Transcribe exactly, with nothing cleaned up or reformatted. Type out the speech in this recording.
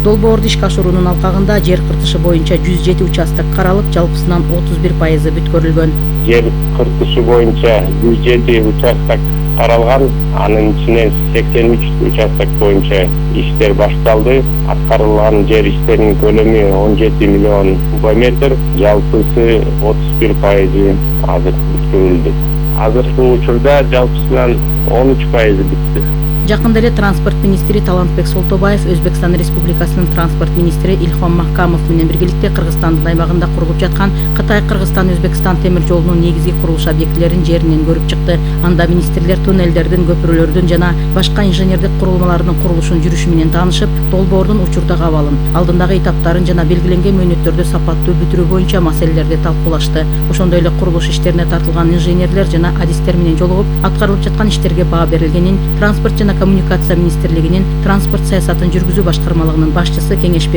Долбоорду ишке ашыруунун алкагында жер кыртышы боюнча жүз жети участок каралып, жалпысынан отуз бир пайызы бүткөрүлгөн. Жер кыртышы боюнча жүз жети участок каралган, анын ичинен сексен үч участок боюнча иштер башталды. Аткарылган жер иштеринин көлөмү он жети миллион куб метр, жалпысы отуз бир пайызы азыр бүткөрүлдү. Азыркы учурда жалпысынан он үч пайызы бүттү. Жакында эле транспорт министри Талантбек Солтобаев Өзбекстан Республикасынын транспорт министри Илхом Махкамов менен биргеликте Кыргызстандын аймагында курулуп жаткан Кытай-Кыргызстан-Өзбекстан темир жолунун негизги курулуш объектилерин жеринен көрүп чыкты. Анда министрлер туннелдердин, көпүрөлөрдүн жана башка инженердик курулмалардын курулушун жүрүшү менен таанышып, долбоордун учурдагы абалын, алдындагы этаптарын жана белгиленген мөөнөттөрдү сапаттуу бүтүрүү боюнча маселелерди талкуулашты. Ошондой эле курулуш иштерине тартылган инженерлер жана адистер менен жолугуп, аткарылып жаткан иштерге баа берилгенин, транспорт жана коммуникация министрлигинин транспорт саясатын жүргүзүү башкармалыгынын башчысы Кеңешбек